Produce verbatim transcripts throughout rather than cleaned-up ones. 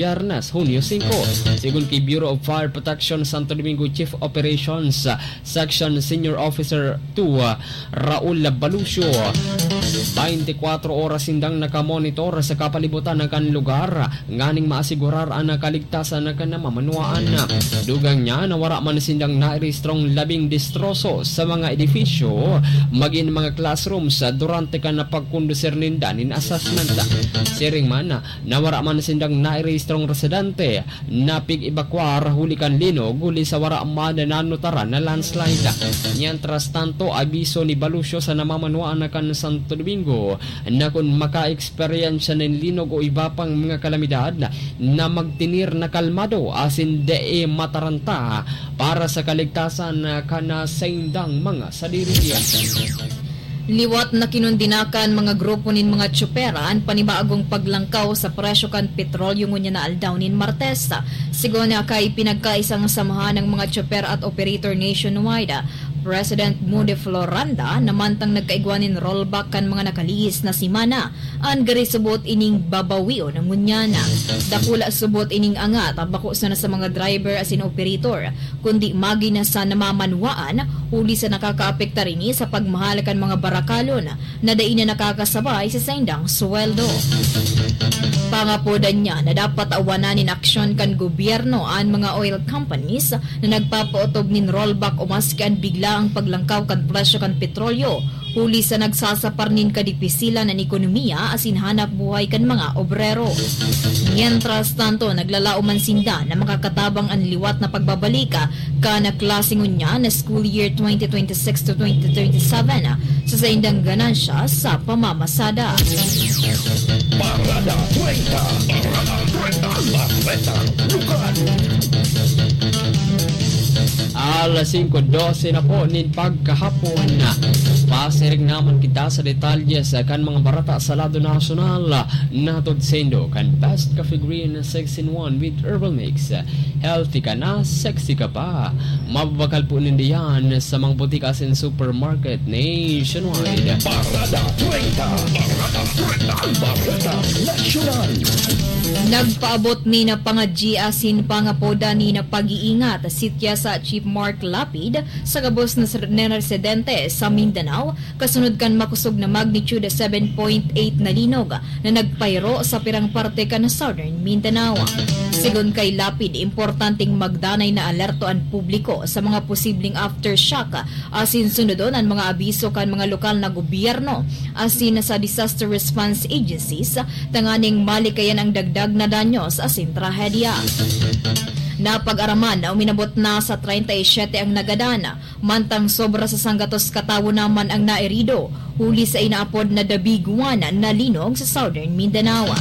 Biyernes, Hunyo singko. Sigon ki Bureau of Fire Protection Santo Domingo Chief Operations Section Senior Officer two, Raul Balucio, baintikwatro oras sindang nakamonitor sa kapalibutan kan lugar nganing maasigurar an kaligtasan kan namamanuaan. Dugang niya na wara man sindang nairehistrong labing destroso sa mga edifisyo, magin mga classrooms, durante kan pagkondusir ninda nin assessment. Siring man, na wara man sindang nairehistrong residente na pig-ebakwar huli kan linog huli sa wara man nanotaran na landslide. Mientras tanto, abiso ni Balucio sa namamanuan kan Santo Domingo na kun maka-eksperyensya nin linog o iba pang mga kalamidad, na magtinir na kalmado asin dai mataranta para sa kaligtasan kan saindang mga sadiri. Liwat na kinondena kan mga grupo nin mga tsoper an panibagong paglangkaw sa presyo kan petrolyo ngunyan na aldaw nin Martes. Sigon kay pinagkaisang samahan ng mga tsoper at operator nationwide, President Moody Floranda, na mantang nagkaigwa nin rollback kan mga nakalihis na semana, an gari subot ining babawion ngunyan. Dakula subot ining angat, bako sana sa mga driver asin operator, kundi magin na sa namamanuaan, huli sa nakakaapektar ini sa pagmahal kan mga barakalon na dai na nakakasabay sa saindang sweldo. Pangapodan niya na dapat awanan nin aksyon kan gobyerno an mga oil companies na nagpapautob nin rollback o maski an biglaang paglangkaw kan presyo kan petrolyo, huli sa nagsasapar nin kadipisilan an ekonomiya asin hanap buhay kan mga obrero. Mientras tanto, naglalaom man sinda na makakatabang an liwat na pagbabalik kan klase ngunyan na school year twenty twenty-six to twenty twenty-seven sa saindang ganansya sa pamamasada. Parada treinta. Parada treinta. Bareta. Lugar. Alas singko dose na po nin pagkahapon. Pasiring naman kita sa detalye sa kan mga bareta sa lado nasyonal. Nahatod saindo kan Best Coffee Green six in one with Herbal Mix. Healthy ka na, sexy ka pa. Mababakal po ninda yan sa mga butika asin supermarket nationwide. Parada treinta. Parada treinta. Bareta Nasyonal. Nagpaabot ni na pangadyi asin pangapoda ni na pag-iingat si Tiasa Chief Mark Lapid sa gabos na sir-, na residente sa Mindanao, kasunod kan makosog na magnitude seven point eight na linog na nagpahiro sa pirang parte kan Southern Mindanao. Sigon kay Lapid, importanteng magdanay na alerto an publiko sa mga posibleng aftershock asin sunodon an mga abiso kan mga lokal na gobyerno asin sa disaster response agencies tanganing malikayan ang dagdag na danyos asin trahedya. Napag-araman na uminabot na sa treinta y siete ang nagadan, mantang sobra sa sanggatos katawo naman ang nairido, huli sa inaapod na The Big One na linog sa Southern Mindanao.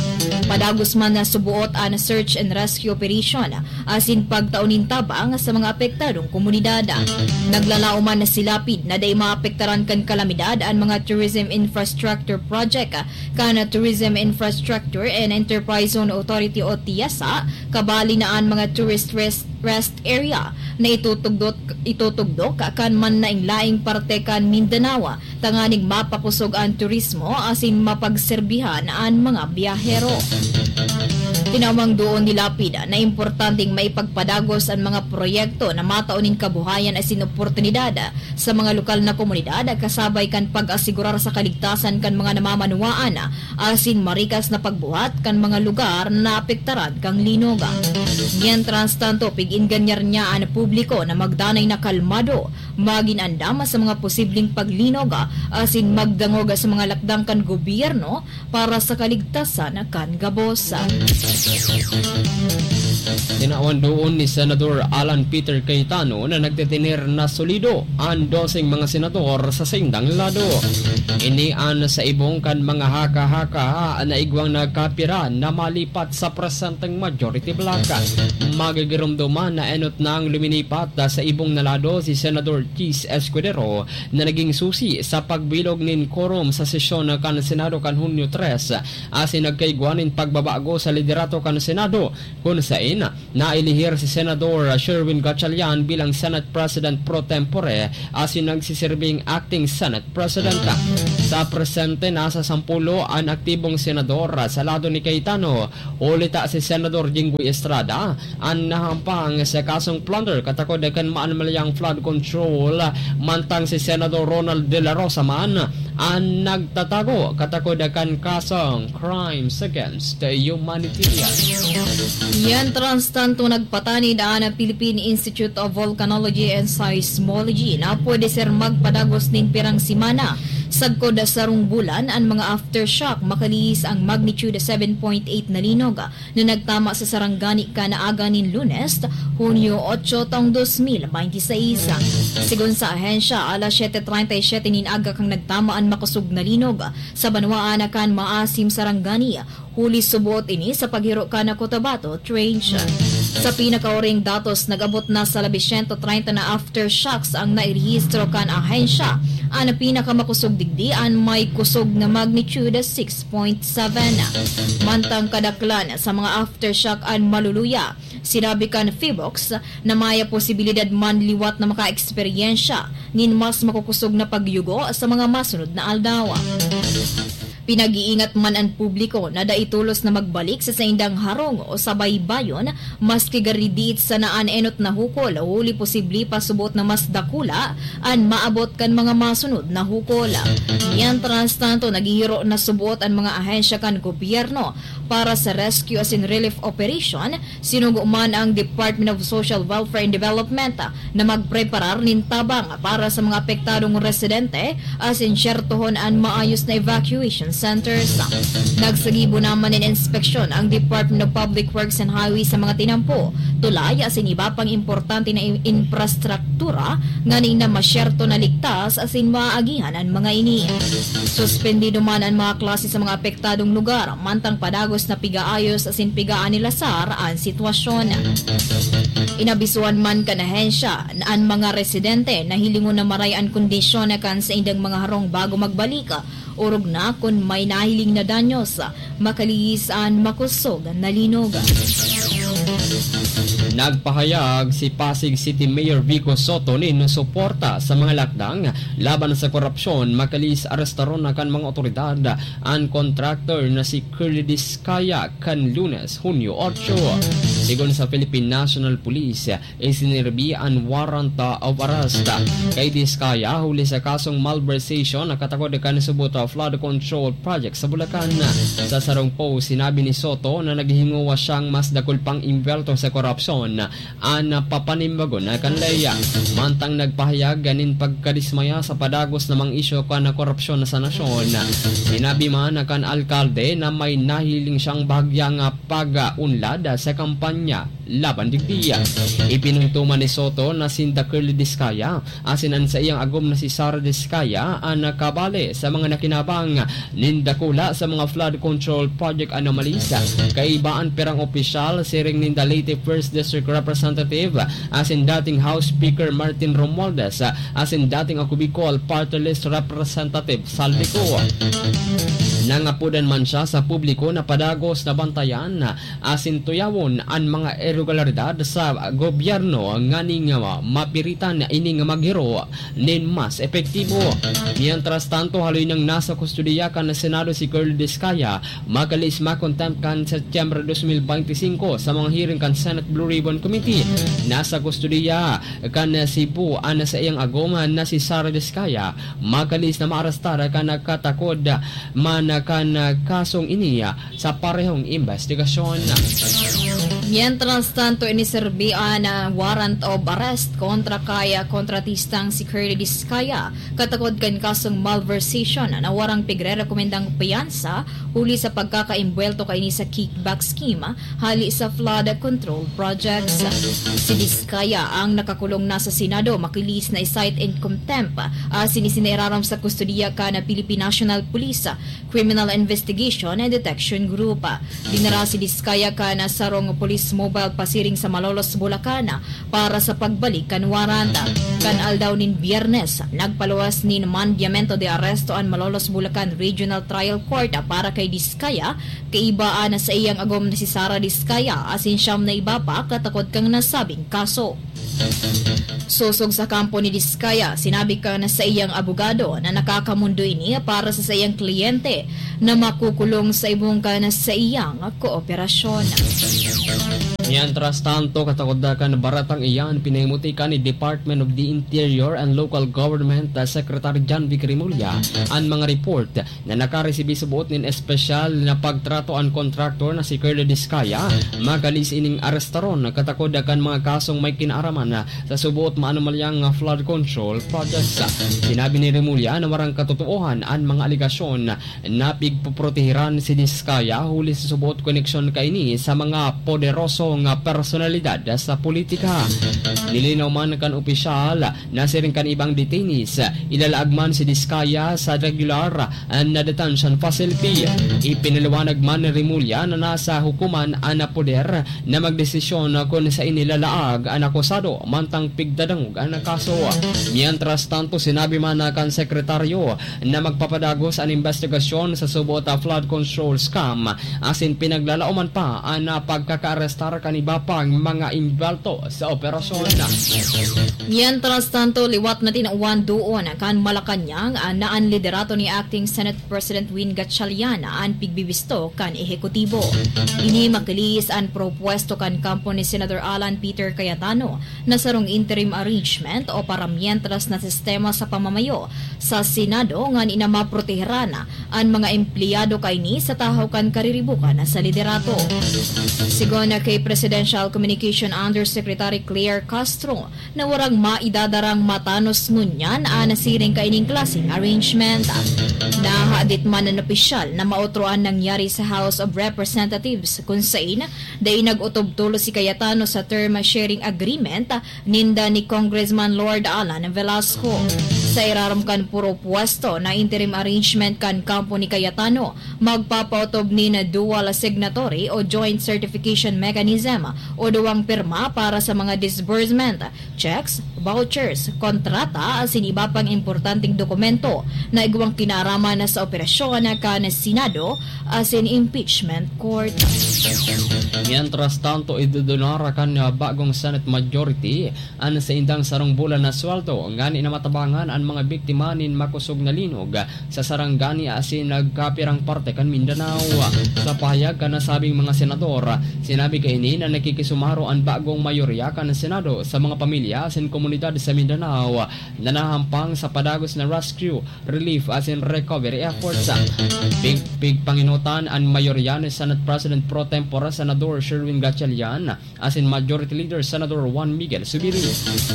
Padagos man na subuot an search and rescue operation asin pagtao nin tabang sa mga apektadong komunidad. Naglalaom man na si Lapid na dai maapektaran kan kalamidad an mga tourism infrastructure project kan Tourism Infrastructure and Enterprise Zone Authority o TIEZA, kabali na an mga tourist rest, rest area na itutugdok, itutugdok kan manlaing-laing parte kan Mindanao tanganing mapakosog an turismo asin mapagserbihan an mga biyahero. Tinawang doon ni Lapid na importanteng maipagpadagos an mga proyekto na matao nin kabuhayan asin oportunidad sa mga lokal na komunidad, kasabay kan pag-asigurar sa kaligtasan kan mga namamanuwaan asin marikas na pagbuhat kan mga lugar na naapektaran kan linog. Mientras tanto, pig-inganyar niya an publiko na magdanay na kalmado, magin andam sa mga posibleng paglinog asin magdangog sa mga lakdang kan gobyerno para sa kaligtasan kan gabos. Tinawan doon ni Senador Alan Peter Cayetano na nagtitener na solido an doseng mga senador sa saindang lado. Ini an sa ibong kan mga haka-haka na igwang nagkapira na malipat sa presenteng majority bloc. Magigiromdoman na enot nang luminipat sa ibong na lado si Senador Chiz Escudero na naging susi sa pagbilog nin quorum sa sesyon kan Senado kan Hunyo tres, asin nagkaigwa nin pagbabago sa liderato kan Senado, kun sa Nailihir si Senador Sherwin Gatchalian bilang Senate President pro tempore asin nagsiserbing acting Senate President. Sa presente, nasa sampulo an aktibong senador sa lado ni Cayetano. Huli ta si Senador Jinggoy Estrada an nahampang sa kasong plunder katakod kan maanmalyang flood control, mantang si Senador Ronald De La Rosa man an nagtatago katakod kan kasong crimes against humanity. Mientras tanto, nagpatanid an Philippine Institute of Volcanology and Seismology na pwede ser magpadagos nin pirang semana, sagkod sarong bulan, an mga aftershock makalihis ang magnitude seven point eight na linog na nagtama sa Sarangani kan aga nin Lunes, Hunyo otso, taong dos mil bente seis. Segun sa ahensya, alas siyete treinta y siete nin aga kan nagtama an makosog na linog sa banwaan kan Maasim, Sarangani, huli suboot ini sa paghiro kan Cotabato Trench. Sa pinakahuring datos, nag-abot na sa labi siyento treinta na aftershocks ang nairehistro kan ahensya. An pinakamakosog digdi an may kusog na magnitude six point seven. Mantang kadaklan sa mga aftershock an maluluya, sinabi kan Phivolcs na may posibilidad man liwat na makaeksperyensya nin mas makukusog na pagyugo sa mga masunod na aldaw. Pinag-iingat man an publiko na dai tolos na magbalik sa saindang harong o sa baybayon, maski gari diit sana an enot na hukol, huli posible pa subot na mas dakula an maabot kan mga masunod na hukol. Mientras tanto, naghihiro na subot an mga ahensya kan gobyerno para sa rescue asin relief operation. Sinugo man ang Department of Social Welfare and Development na magpreparar nin tabang para sa mga apektadong residente asin syertohon an maayos na evacuation centers. Nagsagibo naman nin inspeksyon ang Department of Public Works and Highways sa mga tinampo, tulay asin iba pang importante na in-, infrastruktura nganing na masyerto na ligtas asin maaagihan an mga ini. Suspendido man an mga klase sa mga apektadong lugar, mantang padagos na pigaayos asin pigaanilasar an sitwasyon. Inabisuhan man kan ahensya na an mga residente na hilingon na maray an kondisyon kan saindang mga harong bago magbalik, orog na kun may nahiling na danyos, makalihis an makosog na linog. Nagpahayag si Pasig City Mayor Vico Soto nin suporta sa mga lakdang laban sa korupsyon, makalihis arestaron na kan mga otoridad an contractor na si Curly Discaya kan Lunes, Hunyo otso. Sigon sa Philippine National Police, isinirbi an warrant of arrest kay Discaya huli sa kasong malversation na katakod kan subot flood control project sa Bulacan. Sa sarong post, sinabi ni Soto na naghingowa siyang mas dakul pang imbwelto sa korupsyon an papanimbagon kan ley. Mantang nagpahayag nin pagkadismaya sa padagos na mga isyu kan korupsyon sa nasyon, sinabi man kan alkalde na may nahiling siyang bahagyang pag-unlad sa kampanya laban digdi. Ipinunto man ni Soto na sinda Curly Discaya asin an saiyang agom na si Sara Discaya an nakabale sa mga nakinabang nin dakula sa mga flood control project anomalies. Kaiba an pirang opisyal, siring ninda Leyte First District Representative asin dating House Speaker Martin Romualdez asin dating Ako Bicol Party List Representative Salvi Co. Nangapodan man siya sa publiko na padagos na bantayan asin tuyawon an mga irregularidad sa gobyerno nganing mapiritan ining maghiro nin mas epektibo. Mientras tanto, haloy nang nasa kustodiya kan Senado si Curly Discaya, makalihis ma-contempt kan Setyembre dos mil bente singko sa mga hearing kan Senate Blue Ribbon Committee. Nasa kustodiya kan Cebu an saiyang agom na si Sara Discaya, makalihis na maarestar kan katakod man kan kasong ini sa parehong imbestigasyon. Mientras tanto, iniserbi an warrant of arrest kontra kay kontratistang si Curly Discaya, katakod kan kasong malversation na warang pigrerekomendang piyansa huli sa pagkakaimbwelto kaini sa kickback scheme hali sa flood control projects. Si Discaya ang nakakulong na sa Senado, makalihis na i-cite in contempt asin isinerarom sa kustodiya kan Philippine National Police Criminal Investigation and Detection Group. Dinara si Discaya kan sarong police Mobile pasiring sa Malolos, Bulacan para sa pagbalik kan warrant. Kan aldaw nin Biyernes, nagpaluwas nin mandamiento de arresto an Malolos, Bulacan Regional Trial Court para kay Discaya, kaiba an saiyang agom na si Sara Discaya, asin siyam na iba pa katakod kan nasabing kaso. Sosog sa kampo ni Discaya, sinabi kan saiyang abogado na nakakamondo ini para sa saiyang kliyente na makukulong sa ibong kan saiyang kooperasyon. Mientras tanto, katakod na kan baratang iyan, pinahimuti kan ni Department of the Interior and Local Government Secretary John Vic Remulla an mga report na nakaresibi suboot nin espesyal na pagtrato an kontraktor na si Curly Discaya, magalis ining arestaron katakod kan mga kasong may kinaaraman sa suboot maanomalyang flood control projects. Sinabi ni Remulla na warang katotoohan an mga alegasyon na pigpoprotehiran si Discaya huli sa suboot koneksyon kaini sa mga poderosong personalidad sa politika. Nilinaw man kan opisyal na siring kan ibang detainees, ilalaag man si Discaya sa regular na detention facility. Ipinaliwanag man ni Remulla na nasa hukuman an poder na magdesisyon kun saen ilalaag an akusado mantang pigdadangog an kaso. Mientras tanto, sinabi man na kan sekretaryo na magpapadagos an investigasyon sa suboot a flood control scam, asin pinaglalaoman pa an pagkakaarestar kan iba pang mga involto sa operasyon. Mientras tanto, liwat na tinawan doon kan Malacañang na an liderato ni Acting Senate President Win Gatchalian an pigbibisto kan ehekutibo. Ini makilis an propuesto kan kampo ni Senador Alan Peter Cayetano na sarong interim arrangement o paramientras na sistema sa pamamayo sa Senado ngani na maproteheran an mga empleyado kaini sa tahaw kan kariribukan sa liderato. Sigon kay Presidential Communication Undersecretary Claire Castro, na warang maidadarang matanos ngunyan an nasiring kaining klaseng arrangement. Nahadit man an opisyal na maotro an nangyari sa House of Representatives, kun sain dai nag-otob tolos si Cayetano sa term sharing agreement ninda ni Congressman Lord Alan Velasco. Sa irarom kan propuesto na interim arrangement kan kampo ni Cayetano, magpapaotob nin dual signatory o joint certification mechanism o duwang pirma para sa mga disbursement, checks, vouchers, kontrata asin iba pang importanteng dokumento na igwang kinaaraman sa operasyon kan Senado asin impeachment court. Mientras tanto, idudunar kan bagong Senate majority an saindang sarong bulan na sweldo, ngani na matabangan an mga biktima nin makosog na linog sa sarangani asin nagkapirang parte kan Mindanao. Sa pahayag kan nasabing mga senador, sinabi kaini na nakikisumaro an bagong mayorya kan Senado sa mga pamilya asin komunidad sa Mindanao na nahahampang sa padagos na rescue, relief asin recovery efforts. Pig-, pigpangenotan an mayorya ni Senate President pro tempore Senador Sherwin Gatchalian asin Majority Leader Senador Juan Miguel Zubiri.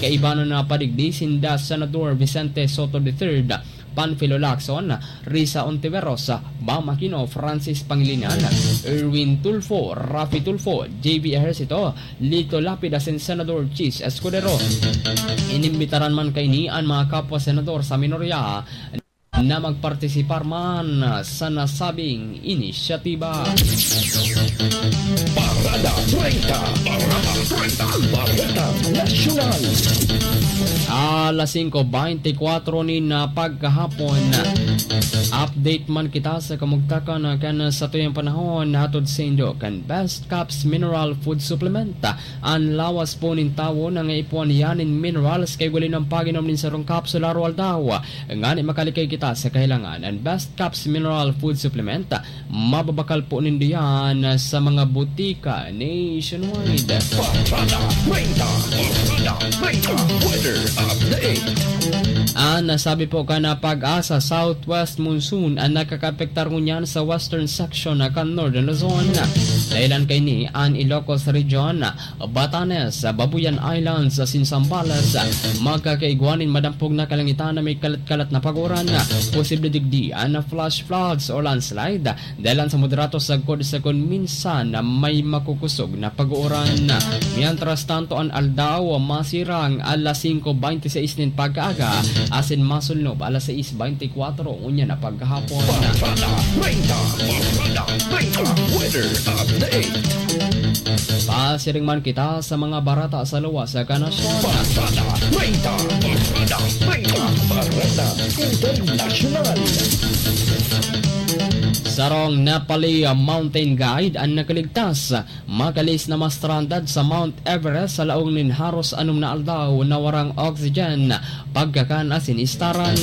Kaiba na napadigdi sinda Senador Vicente Sotto the third, Panfilo Lacson, Risa Ontiveros, Bam Aquino, Francis Pangilinan, Erwin Tulfo, Raffy Tulfo, J B Ejercito, Lito Lapid asin Senador Chiz Escudero. Inimbitaran man kaini an mga kapwa senador sa minorya na magpartisipar man sa nasabing inisyatiba. Parada treinta, Parada treinta, Parada Nasyonal. Alas singko beintikwatro nin, ah, pagkahapon. Update man kita sa kamugtakan kan satuyang panahon, hatod saindo kan Best Caps Mineral Food Supplement. An lawas po nin tawo nangaipuhan iyan nin minerals kay huli nang pag-inom nin sarong kapsula aroaldaw. Ngani makalikay kita sa kahilangan, an Best Caps Mineral Food Supplement, mababakal po nindo yan sa mga butika nationwide. Parada treinta, Parada treinta, weather update. An nasabi po kan PAGASA, southwest monsoon an nakakaapektar ngunyan sa western section kan Northern Luzon. Dahilan kaini an Ilocos Region, Batanes, Babuyan Islands asin Zambales. Magkakaigwa nin madampog na kalangitan na may kalat-kalat na pag-uran. Posible digdi an flash floods o landslide, dahilan sa moderato sagkod sa kun minsan na may makukusog na pag-uran. Mientras tanto, an aldaw masirang alas singko beintiseis nin pagkaaga asin masulnob alas sais beintikwatro ngunyan na pagkahapon. Parada treinta, Parada treinta, weather update. Pasiring man kita sa mga bareta sa luwas sa kanasyon. Bareta Treinta, Bareta Treinta, Bareta Internasyonal. Sarong Nepali mountain guide an nakaligtas, makalis na ma-stranded sa Mount Everest sa laog nin haros anom na aldaw na warang oxygen, pagkakan asin istaran.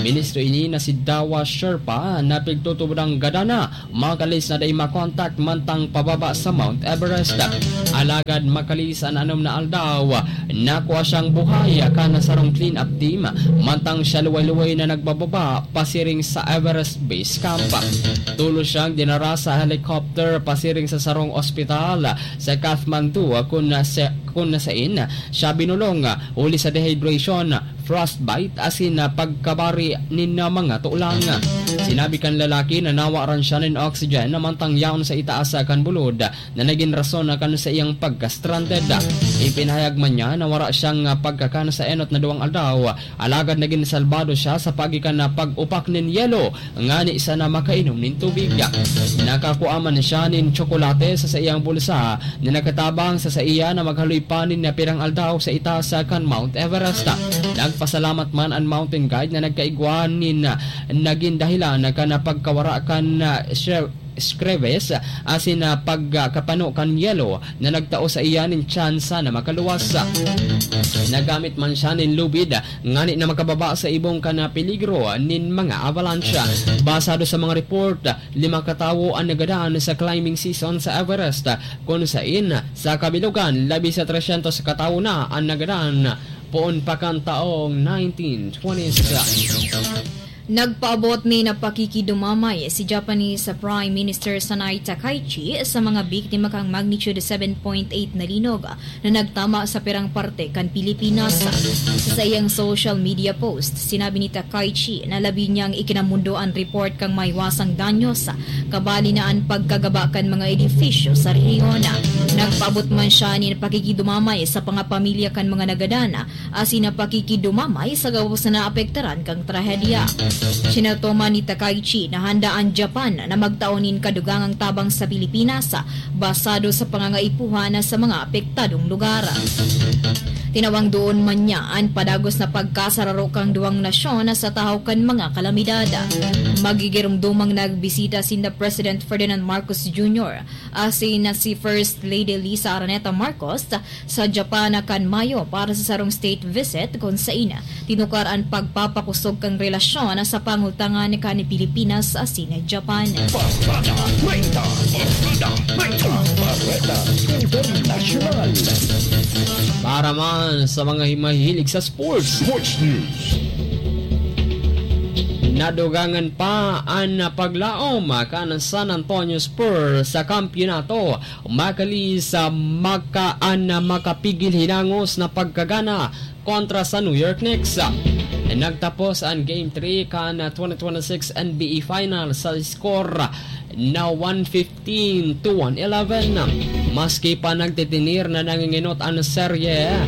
Ministro ini na si Dawa Sherpa na pigtutubodang gadan na makalis na dai makontak mantang pababa sa Mount Everest. Alagad makalis an anom na aldaw, nakua siyang buhay kan sarong clean-up team, mantang siya luway-luway na nagbababa pasiring sa Everest Base Camp. Tolos siyang dinara sa helicopter pasiring sa sarong ospital sa Kathmandu, kun sa, kun sain siya binulong huli sa dehydration, frostbite asin, ah, pagkabari nin, ah, mga tulang. Sinabi kan lalaki na nawaran siya nin oxygen mantang yaon sa itaas, ah, kan bulod na nagin rason na kan saiyang pagka-stranded. Ipinahayag man niya na wara siyang, ah, pagkakan sa enot na duwang aldaw, alagad nagin salbado siya sa paagi kan, ah, pag-upak nin yelo ngani sana makainom nin tubig. Nakakua man siya nin tsokolate sa saiyang bulsa na nakatabang sa saiya na maghaloy pa nin pirang aldaw sa itaas kan Mount Everest. Nagpasalamat man an mountain guide na nagkaigwa nin nagin dahilan kan pagkawara kan, ah, shre-, screves asin, ah, pagkapano kan yelo na nagtao saiya nin tsansa na makaluwas. Nagamit man siya nin lubid ngani na makababa sa ibong kan peligro nin mga avalanche. Basado sa mga report, lima ka tawo an nagadan sa climbing season sa Everest, kun sain sa kabilugan, labi sa tresyentos ka tawo na an nagadan poon pa kan taong nineteen twenties. Nagpaabot nin pakikidumamay si Japanese Prime Minister Sanae Takaichi sa mga biktima kan magnitude seven point eight na linog na nagtama sa pirang parte kan Pilipinas. Sa saiyang social media post, sinabi ni Takaichi na labi niyang ikinamundo an report kan maiwasang danyos, kabali na an pagkagaba kan mga edifisyo sa rehiyon. Nagpaabot man siya nin pakikidumamay sa mga pamilya kan mga nagadan asin an pakikidumamay sa gabos na naapektaran kan trahedya. Sinatoman ni Takaichi na handa an Japan na magtao nin kadugangang tabang sa Pilipinas, basado sa pangangaipuhan sa mga apektadong lugar. Tinawang duon man niya an padagos na pagkasararo kan duwang nasyon sa tahaw kan mga kalamidad. Magigiromdomang nagbisita sinda President Ferdinand Marcos Junior asin na si First Lady Liza Araneta Marcos sa Japan kan Mayo para sa sarong state visit, kun sain tinukar an pagpapakosog kan relasyon sa pangultangan kan Pilipinas asin Japan. Bareta Treinta, Bareta Treinta, Bareta Internasyonal. Para man sa mga hi-, mahihilig sa sports. Sports News. Nadugangan pa an paglaom kan San Antonio Spurs sa kampiyonato, makalis sa maka-, an makapigil hinangos na pagkagana kontra sa New York Knicks. Nagtapos an Game three kan twenty twenty-six N B A Finals sa score na one fifteen to one eleven. Maski pa nagtitinir na nanginginot an serye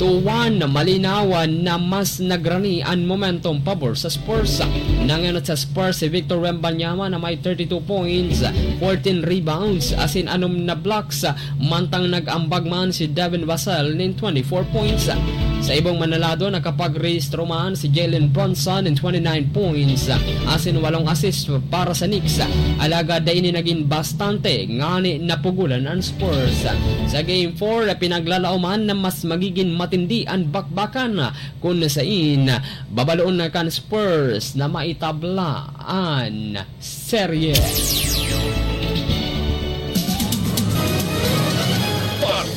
two one, malinaw na mas nagrani an momentum pabor sa Spurs. Nangenot sa Spurs si Victor Wembanyama na may thirty-two points, fourteen rebounds, asin anom na blocks, mantang nag-ambag man si Devin Vassell nin twenty-four points. Sa ibong manalado, nakapag-rehistro man si Jalen Brunson nin twenty-nine points, asin walong assist para sa Knicks. Alagad dai ini nagin bastante, ngani napugolan an Spurs. Sa Game four, pinaglalaoman na mas magigin matindi an bakbakan, kun sain babaloon na kan Spurs na maitabla an serye.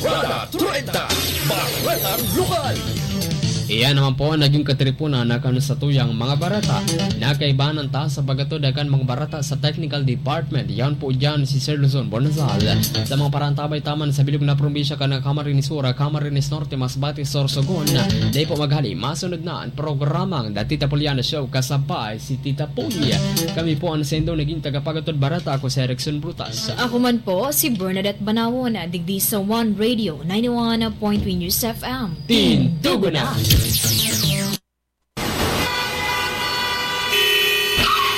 Bareta Treinta, Baretang Lokal. Iyan naman po ang naging katiripunan na kan satuyang mga bareta. Nakaibahan ta sa pagkatuda kan mga bareta sa technical department. Yan po dyan si Sir Luzon Bonasal. Sa mga parantabay taman sa bilog na probinsya kan Camarines Sur, Camarines Norte, Masbate, Sorsogon. Dai po maghali, masunod na ang programang The Tita Puliana Show kasabay si Tita Puy. Kami po ang sendo naging tagapagatod bareta. Ako si Erickson Brutas. Ako man po si Bernadette Banawon, digdi sa One Radio ninety-one point three News F M. Tindugo na!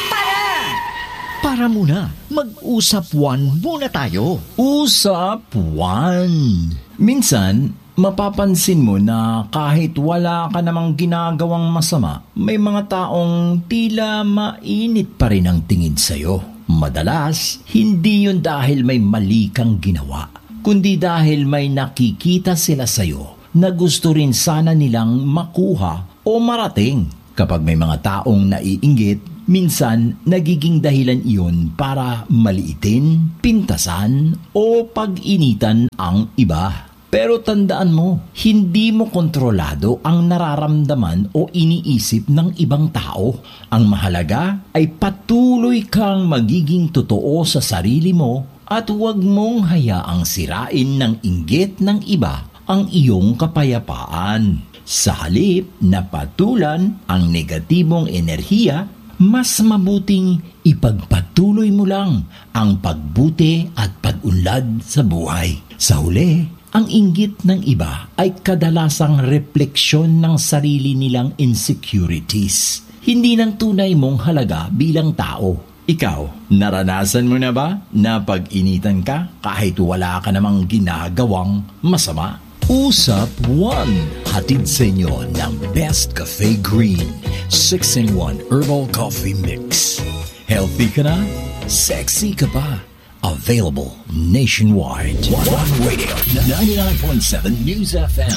Para! Tara muna, mag-usap one muna tayo. Usap one. Minsan, mapapansin mo na kahit wala ka namang ginagawang masama, may mga taong tila mainit pa rin ang tingin sa'yo. Madalas, hindi yun dahil may mali kang ginawa, kundi dahil may nakikita sila sa'yo na gusto rin sana nilang makuha o marating. Kapag may mga taong naiinggit, minsan nagiging dahilan iyon para maliitin, pintasan, o pag-initan ang iba. Pero tandaan mo, hindi mo kontrolado ang nararamdaman o iniisip ng ibang tao. Ang mahalaga ay patuloy kang magiging totoo sa sarili mo at huwag mong hayaang sirain ng inggit ng iba ang iyong kapayapaan. Sa halip na patulan ang negatibong enerhiya, mas mabuting ipagpatuloy mo lang ang pagbuti at pag-unlad sa buhay. Sa huli, ang inggit ng iba ay kadalasang repleksyon ng sarili nilang insecurities, hindi ng tunay mong halaga bilang tao. Ikaw, naranasan mo na ba na pag-initan ka kahit wala ka namang ginagawang masama? Usap one, hatid sa inyo ng Best Cafe Green six-in-one Herbal Coffee Mix. Healthy ka na, sexy ka pa. Available nationwide. One Radio, ninety-nine point seven News F M.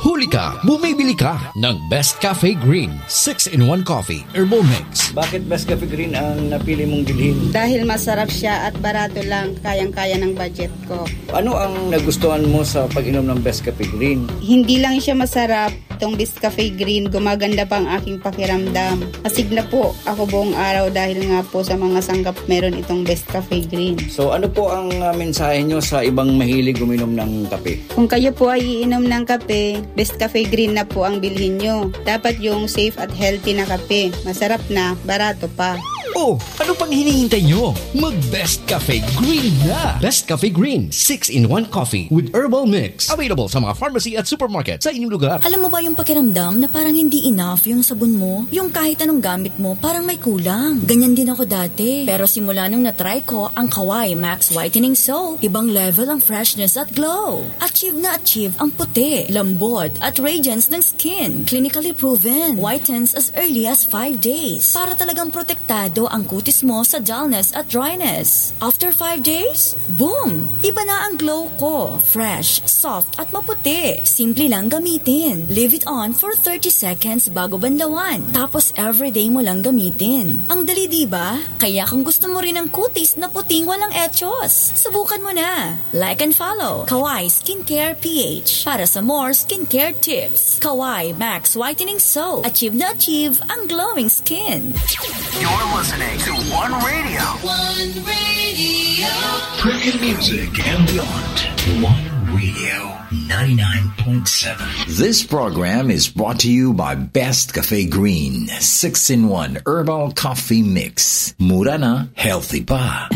Huli ka, bumibili ka ng Best Cafe Green six-in-one Coffee Herbal Mix. Bakit Best Cafe Green ang napili mong bilhin? Dahil masarap siya at barato lang, kayang-kaya ng budget ko. Ano ang nagustuhan mo sa pag-inom ng Best Cafe Green? Hindi lang siya masarap, itong Best Cafe Green, gumaganda pa ang aking pakiramdam. Asig na po ako buong araw dahil nga po sa mga sangkap meron itong Best Cafe Green. So ano po ang uh, mensahe nyo sa ibang mahilig uminom ng kape? Kung kayo po ay iinom ng kape, Best Cafe Green na po ang bilhin nyo. Dapat yung safe at healthy na kape. Masarap na, barato pa. Oh, ano pang hinihintay nyo? Mag Best Cafe Green na! Best Cafe Green, six-in-one coffee with herbal mix. Available sa mga pharmacy at supermarket sa inyong lugar. Alam mo ba yung pakiramdam na parang hindi enough yung sabon mo? Yung kahit anong gamit mo, parang may kulang. Ganyan din ako dati. Pero simula nung na-try ko ang Kawai Max Whitening Soap, ibang level ang freshness at glow. Achieve na achieve ang puti, lambot, at radiance ng skin. Clinically proven. Whitens as early as five days. Para talagang protektado ang kutis mo sa dullness at dryness. After five days, boom! Iba na ang glow ko. Fresh, soft, at maputi. Simple lang gamitin. Leave it on for thirty seconds bago banlawan. Tapos everyday mo lang gamitin. Ang dali, di ba? Kaya kung gusto mo rin ang kutis na puting walang echos, subukan mo na. Like and follow Kawai Skincare P H para sa more skincare tips. Kawai Max Whitening Soap. Achieve na achieve ang glowing skin. You're listening to One Radio. One Radio. Premium music and beyond. One Radio. ninety-nine point seven. This program is brought to you by Best Cafe Green six-in-one Herbal Coffee Mix. Mura na, healthy pa.